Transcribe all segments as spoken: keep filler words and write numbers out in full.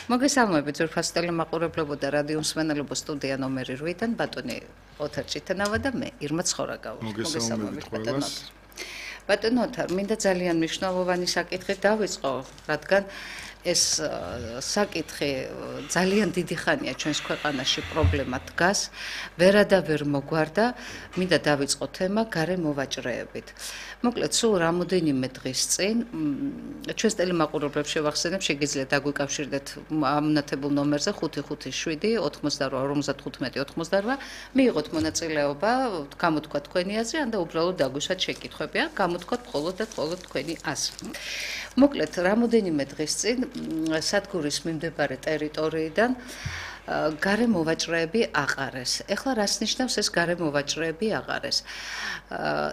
მოგესალმებით ძვირფას ტელემაყურებლებო და რადიო მსმენელებო სტუდია ნომერი ოთხიდან ბატონი ოთარ ჭიტანავა და მე ირმა ცხორაგაური. მოგესალმებით ყველას. ბატონო ოთარ, მინდა ძალიან მნიშვნელოვანი საკითხი დავიწყო, რადგან ეს საკითხი ძალიან დიდი ხანია ჩვენს ქვეყანაში პრობლემა დგას, ვერადავერ მოგვარდა, მინდა დავიწყო თემა გარე მოვაჭრეებით. მოკლედ, სულ რამოდენიმე დღის წინ ჩვენს ტელემაყურებლებს შევახსენებ, შეგიძლიათ დაგვიკავშირდეთ ამონათებულ ნომერზე ხუთი ხუთი შვიდი ოთხმოცდარვა ორმოცდათხუთმეტი ოცდაოთხმოცდარვა, მიიღოთ მონაწილეობა, გამოთქვა თქვენი აზრი, ან და უბრალოდ დაგვიშვათ შეკითხვები, ან გამოთქვათ მხოლოდ და მხოლოდ თქვენი აზრი. მოკლედ, რამოდენიმე დღის წინ სადგურის მიმდებარე ტერიტორიიდან გარე მოვაჭრეები აყარეს. ეხლა რას ნიშნავს ეს გარე მოვაჭრეები აყარეს?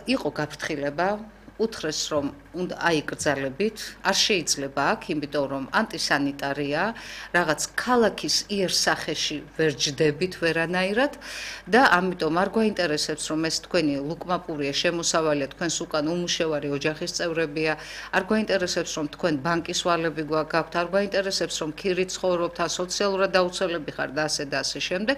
იყო გაფრთხილება, უთხრეს რომ უნდა აიკრძალებით, არ შეიძლება აქ, იმიტომ რომ ანტისანიტარია, რაღაც ქალაქის იერსახეში ვერ ჯდებით ვერანაირად და ამიტომ არ გვაინტერესებს რომ ეს თქვენი ლუკმაპურია, შემოსავალია, თქვენს უკან უმუშევარი ოჯახის წევრებია, არ გვაინტერესებს რომ თქვენ ბანკის ვალები გაქვთ, არ გვაინტერესებს რომ ქირით ცხოვრობთ, ან სოციალურად დაუცველები ხართ და ასე და ასე შემდეგ.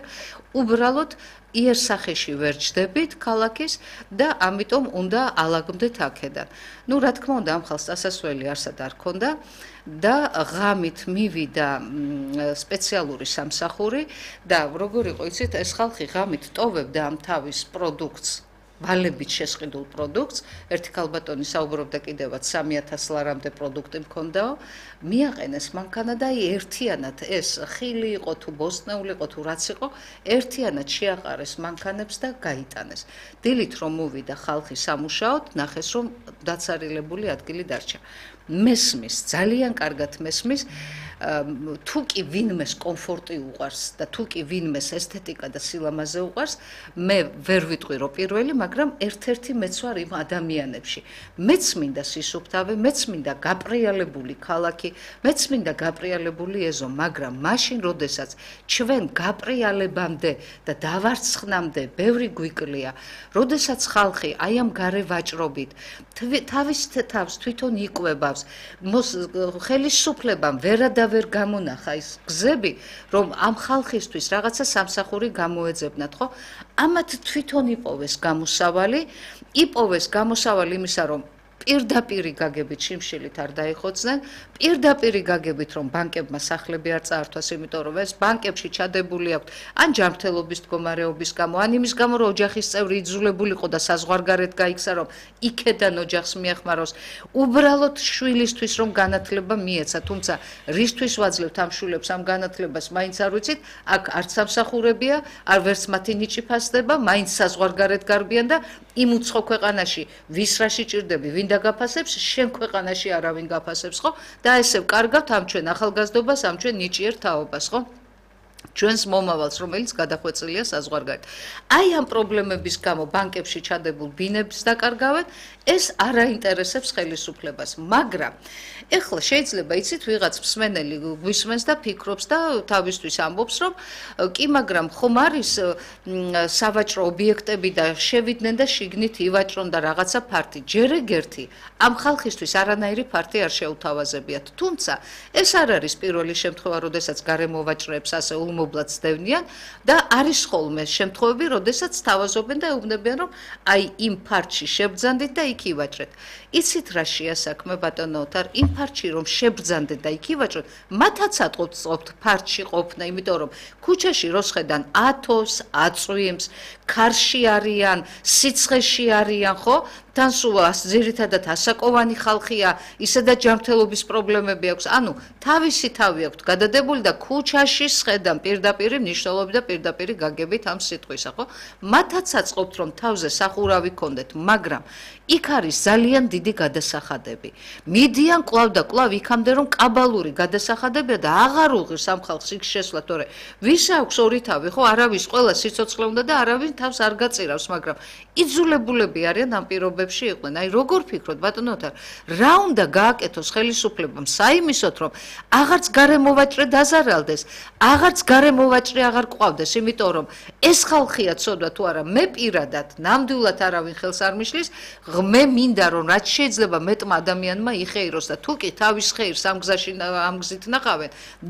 უბრალოდ იერსახეში ვერ ჯდებით ქალაქის და ამიტომ უნდა ალაგდეთ აქედან. ნუ რა თქმა უნდა, ამ ხალხს დასასველი არსად არ ქონდა და ღამით მივიდა სპეციალური სამსახური და როგორ იყო, იცით, ეს ხალხი ღამით ტოვებდა ამ თავის პროდუქტს, ვალებით შესყიდულ პროდუქტს, ერთი ქალბატონი საუბრობდა კიდევაც სამი ათას ლარამდე პროდუქტი მქონდაო, მიაყენეს მანქანა და ერთიანად ეს ხილი იყო თუ ბოსტნეული იყო თუ რაც იყო, ერთიანად შეაყარეს მანქანებს და გაიტანეს. დილით რომ მოვიდა ხალხი სამუშაოდ, ნახეს რომ დაცარილებული ადგილი დარჩა. მესმის, ძალიან კარგად მესმის, თუ კი ვინმეს კომფორტი უყვარს და თუ კი ვინმეს ესთეტიკა და სილამაზე უყვარს, მე ვერ ვიტყვი რომ პირველი, მაგრამ ერთ-ერთი მეც ვარ იმ ადამიანებში. მეც მინდა სისუფთავე, მეც მინდა გაპრიალებული ქალაქი, მეც მინდა გაპრიალებული ეზო, მაგრამ მაშინ, როდესაც ჩვენ გაპრიალებამდე და დავარცხნამდე ბევრი გვიკლია, როდესაც ხალხი აი ამ გარე ვაჭრობით თავის თავს თვითონ იკვებავს, ხელისუფლებამ ვერადავ ვერ გამონახა ის გზები, რომ ამ ხალხისთვის რაღაცა სამსახური გამოეძებნათ, ხო? ამათ თვითონ იპოვეს გამოსავალი, იპოვეს გამოსავალი იმისა, რომ პირდაპირი გაგებით შიმშილით არ დაიხოცნენ, პირდაპირი გაგებით რომ ბანკებმა სახლები არ წაართვას, იმიტომ რომ ეს ბანკებში ჩადებული აქვთ ან ჯანმრთელობის მდგომარეობის გამო, ან იმის გამო რომ ოჯახის წევრი იძულებული იყო და საზღვარგარეთ გაიქცა, რომ იქედან ოჯახს მიეხმაროს, უბრალოდ შვილისთვის რომ განათლება მიეცა, თუმცა რისთვის ვაძლევთ ამ შვილებს ამ განათლებას, მაინც არ ვიცით, აქ არც სამსახურებია, არ ვერც მათი ნიჭი ფასდება, მაინც საზღვარგარეთ გარბიან და იმ უცხო ქვეყანაში ვის რა შეჭirdები, ვინ გაფასებს, შენ ქვეყანაში არავინ გაფასებს, ხო? და ესე ვკარგავთ ამ ჩვენ ახალგაზრდობას, ამ ჩვენ ნიჭიერ თაობას, ხო? ჩვენს მომავალს, რომელიც გადახვეწილია საზღვარგარეთ. აი ამ პრობლემების გამო ბანკებში ჩადებულ ბინებს დაკარგავენ, ეს არ აინტერესებს ხელისუფლებას, მაგრამ ეხლა შეიძლება იცით ვიღაც მსმენელი გვისმენს და ფიქრობს და თავისთვის ამბობს, რომ კი, მაგრამ ხომ არის სავაჭრო ობიექტები და შევიდნენ და შიგნით ივაჭრონ და რაღაცა ფართი. ჯერ ეგერთი ამ ხალხისთვის არანაირი ფართი არ შეუთავაზებიათ. თუმცა ეს არ არის პირველი შემთხვევა, როდესაც გარე მოვაჭრეებს ასე ულმობლად ცდევნიან და არის ხოლმე შემთხვევები, როდესაც თავაზობენ და ეუბნებიან, რომ აი იმ ფართში შებძანდით და იქ ივაჭრეთ. იცით რა შეასაქმე ბატონო ოთარ, იმ ფართში რომ შებძანდეთ და იქ ივაჭრეთ, მათაც ატყობთ ფართში ყოფნა, იმიტომ რომ ქუჩაში როსხედან ათოს, აწვიმს, ქარში არიან, სიცხეში არიან, ხო? თან სულ ძირითადად ასაკოვანი ხალხია, ისედაც ჯანმრთელობის პრობლემები აქვს. ანუ თავისი თავი აქვთ გადადებული და ქუჩაში სხედან პირდაპირი მნიშვნელობით და პირდაპირი გაგებით ამ სიტყვისა, ხო? მათაც აწყობთ რომ თავზე სახურავი ქონდეთ, მაგრამ იქ არის ძალიან დიდი გადასახადები. მიდიან კვლავ და კვლავ იქამდე რომ კაბალური გადასახადებია და აღარ უღირს ამ ხალხს იქ შესვლა, თორე ვის აქვს ორი თავი, ხო? არავის ყველა სიცოცხლე უნდა და არავის თავს არ გაწირავს, მაგრამ იძულებულები არიან ამ პირობებში იყვნენ. აი როგორ ფიქრობთ ბატონო ოთარ, რა უნდა გააკეთოს ხელისუფლებამ საიმისოთ, რომ აღარც გარე მოვაჭრე დაზარალდეს, აღარც გარე მოვაჭრე აღარ ყვავდეს, იმიტომ რომ ეს ხალხია ცოდვა თუ არა, მე პირადად ნამდვილად არავინ ხელს არ მიშლის, მე მინდა რომ რაც შეიძლება მეტმა ადამიანმა იხეიროს და თუ კი თავის ხეირს ამ გზაში ამ გზით ნახავენ,